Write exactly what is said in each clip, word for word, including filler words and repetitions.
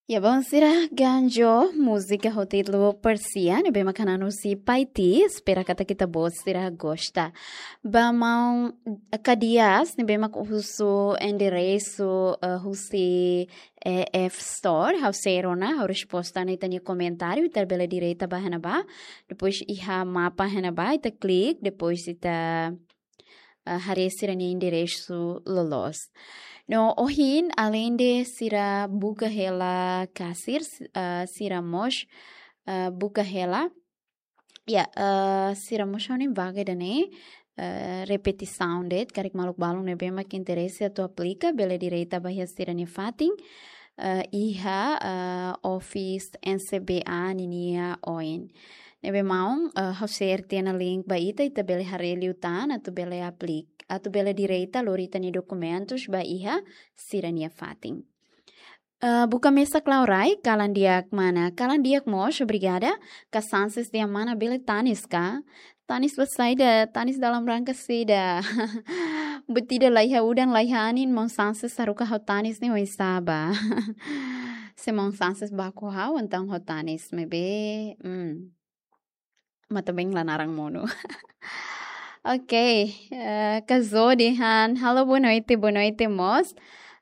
Ya, bom, sira ganjo múzika ho títulu Persia, ne'ebé mak hanan husi Paiti, espera katak ita-boot sira gosta. Ba maun Kadias, ne'ebé mak husu enderesu, eh, husi E F Store, ha'u sei rona, ha'u resposta ona ita-nia komentáriu, ita bele direta ba iha ne'ebá. Depois iha mapa iha ne'ebá, ita klik, depois ita, eh, haree sira-nia enderesu loloos. No ohin, aleinde sira buka hela kasir, s-, eh, sira mós, eh, buka hela. Ya, eh, sira mós ha'u-nia vaga ida-ne'e, eh, repetisaun de'it, karik maluk balun ne'ebé mak interese atu aplika, bele direta ba iha sira-nia fatin, eh, iha, eh, office N C B A ninia oin. Ne'ebé maun, eh, ha'u sei share tiha ona link ba ita, ita bele haree liután, atu bele aplik-, atu bele direta lori ita-nia dokumentus ba iha sira-nia fatin. Eh, buka mesak Laurai, kalan di'ak mana? Kalan di'ak mós, obrigada. Ka chances dehan mana bele tanis ka? Tanis ba saida, tanis dalam rangka saida. Buat ida laiha udan laiha anin, maun Sanches haruka ha'u tanis ne'e oinsá ba? Se maun Sanches baku ha'u, entaun ha'u tanis, maibé, hmm. Mata bem la naran monu. Ok, eh, Kazo dehan, halo, boa noite, boa noite, mós.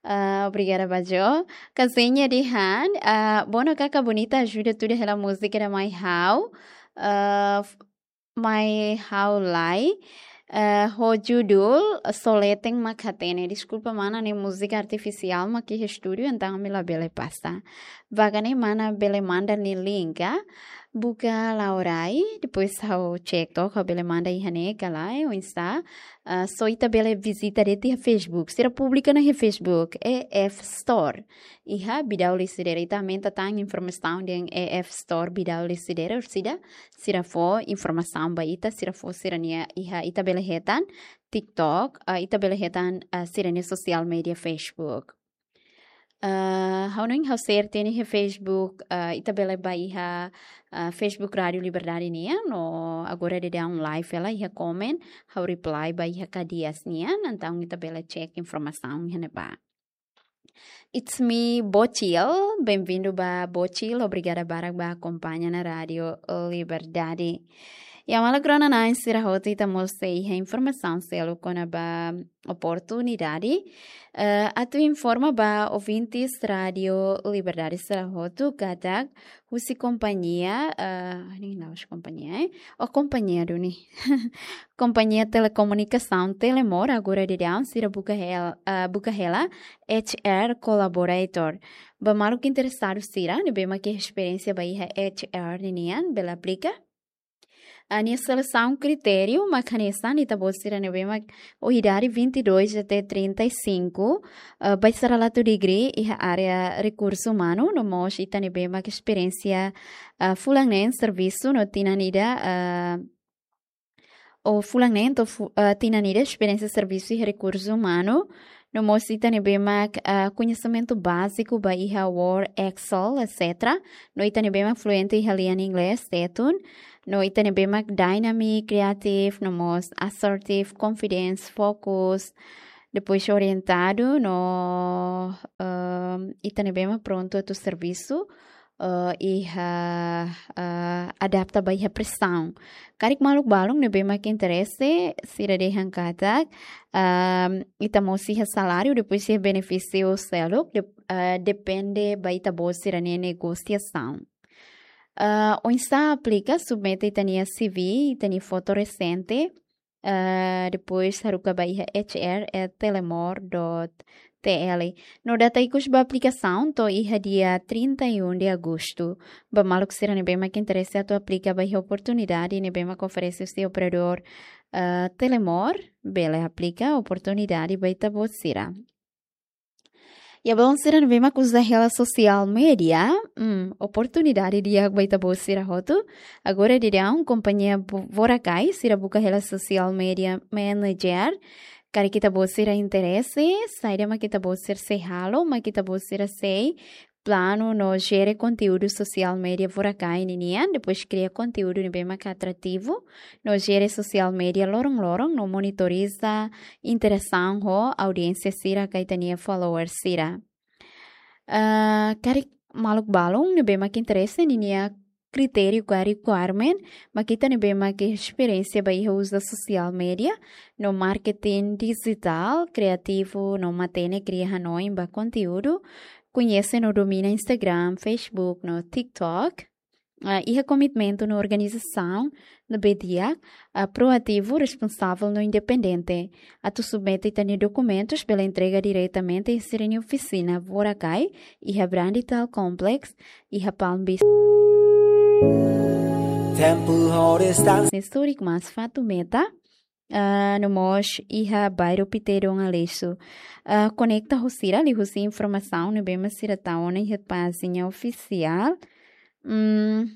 Ah, obrigada ba Jo. Kazenha dehan, ah, bono kaka bonita ajuda tuda hela múzika ida mai ha'u. Ah, f-, mai ha'u lai. Eh, ho judul, Soleten mak hatene. Deskulpa, mana, ne'e múzika artifisiál mak iha estúdiu, entaun ami labele pasa. Vagane mana bele manda nia link, ah. Buka Laurai, depois ha'u check tok, ha'u bele manda iha ne'e ka lae, oinsá. Ah, só ita bele vizita de'it iha Facebook. Sira publika ona iha Facebook, E F Store. Iha Bidau Lecidere, ita aumenta tan informasaun dehan E F Store Bidau Lecidere, orsida sira fó informasaun ba ita, sira fó sira-nia iha, ita bele hetan TikTok, ah, ita bele hetan, ah, sira-nia sosiál média Facebook. Ah, ha'u hanoin ha'u share tiha ona iha Facebook, ah, ita bele ba iha, ah, Facebook Rádio Liberdade nian, no agora daudaun live hela iha comment, ha'u reply ba iha Kadias nian, entaun ita bele check informasaun iha ne'ebá. It's me, Bocil. Bem-vindo ba Bocil. Obrigada barak ba akompaña ona Rádio Liberdade. Ya, maluk rona-na'in sira hotu, ita mós sei iha informasaun seluk kona-ba oportunidade. Eh, atu informa ba ouvintes Rádio Liberdade sira hotu katak husi kompañia, eh, ne'e la'ós kompañia, eh? Oh, kompañia duni. Kompañia telekomunikasaun Telemor, agora daudaun sira buka hel-, eh, buka hela H R collaborator. Ba maluk interesadu sira ne'ebé mak iha esperiénsia ba iha H R ninian, bele aplika. Ah, nia selesaun kritériu mak hanesan ita-boot sira ne'ebé mak ho idade vinte e dois até trinta e cinco, ah, ba sira la to'o degree iha área rekursu umanu, no mós ita ne'ebé mak esperiénsia, ah, fulan neen servisu no tinan ida, ah, ou fulan neen to'o fu-, ah, tinan ida esperiénsia servisu iha rekursu umanu, no mós ita ne'ebé mak, ah, koñesimentu báziku ba iha Word, Excel, et cetera. No ita ne'ebé mak fluente iha lian inglés, tetun. No ita ne'ebé mak dynamic, creative, no mós assertive, confidence, focus. Depois orientadu, no, ehm, ita ne'ebé mak prontu atu servisu, eh, iha, eh, adapta ba iha presaun. Karik maluk balun ne'ebé mak interese, sira dehan katak, ehm, ita mós iha saláriu, depois iha benefísiu seluk, de-, eh, depende ba ita-boot sira-nia negosiasaun. Eh, oinsá aplika, submete ita-nia C V, ita-nia foto resente, eh, depois haruka ba iha H R at telemor dot T L. No data ikus ba aplikasaun to'o iha dia trinta e um de agosto. Ba maluk sira ne'ebé mak interese atu aplika ba iha oportunidade ne'ebé mak oferese husi operadór, eh, Telemor, bele aplika oportunidade ba ita-boot sira. Ya, balun sira ne'ebé mak uza hela sosiál média, hmm, oportunidade di'ak ba ita-boot sira hotu. Agora daudaun kompañia Vo-, Vorakai, sira buka hela sosiál média manager. Karik ita-boot sira interese, saida mak ita-boot sira sei halo, mak ita-boot sira sei planu no jere konteúdu sosiál média Vorakai ninian, depois kria konteúdu ne'ebé mak atrativu, no jere sosiál média loron-loron, no monitoriza interasaun ho audiénsia sira ka ita-nia followers sira. Ah, karik maluk balun ne'ebé mak interese, ninia kritériu ka requirement mak ita ne'ebé mak esperiénsia ba iha uza social media no marketing digital, kriativu no matenek kria hanoin ba konteúdu, koñese no domina Instagram, Facebook no TikTok. Ah, iha komitmentu no organizasaun ne'ebé di'ak, ah, proativu, responsavel no independente. Atu submete ita-nia dokumentus bele entrega diretamente iha sira-nia ofisina Vorakai, iha Brandy Town Complex, iha Palm Beach. Temple Hotel Stand. Ne'e turik mas Fatumeta, ah, no mós iha bairru Pité Dom Aleixo. Ah, konekta ho sira liuhusi informasaun ne'ebé mak sira tau ona iha pájina ofisiál. Hmm.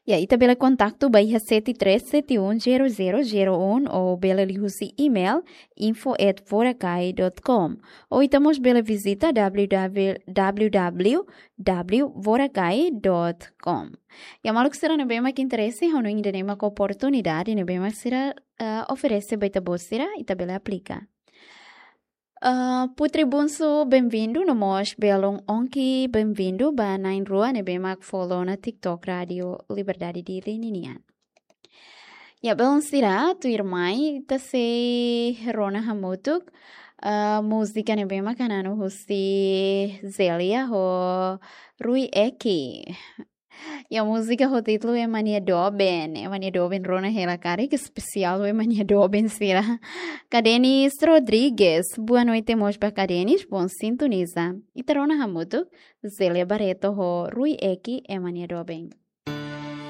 Ya, ita bele kontaktu ba iha sete três sete um zero zero zero um ou bele liuhusi email info at vorakai dot com. Ou ita mós bele vizita www vorakai dot com. Ya, maluk sira ne'ebé mak interese, ha'u hanoin ida-ne'e mak oportunidade ne'ebé mak sira, eh, oferese ba ita-boot sira, ita bele aplika. Ah, Putri Bunsu, benvindu, no mós belun Onki, benvindu ba na'in-rua ne'ebé mak follow ona TikTok Rádio Liberdade Dili ninian. Ya, belun sira, tuirmai ita sei rona hamutuk, ah, múzika ne'ebé mak hananu husi Zelia ho Rui Eki. Ya, múzika ho títulu Ema nia Doben. Ema nia Doben rona hela karik, espesiál Ema nia Doben sira. Kadenis Rodrigues. Boa noite mós ba Kadenis, bom sintoniza. Ita rona hamutuk, Zelia Barreto ho Rui Eki, Ema nia Doben.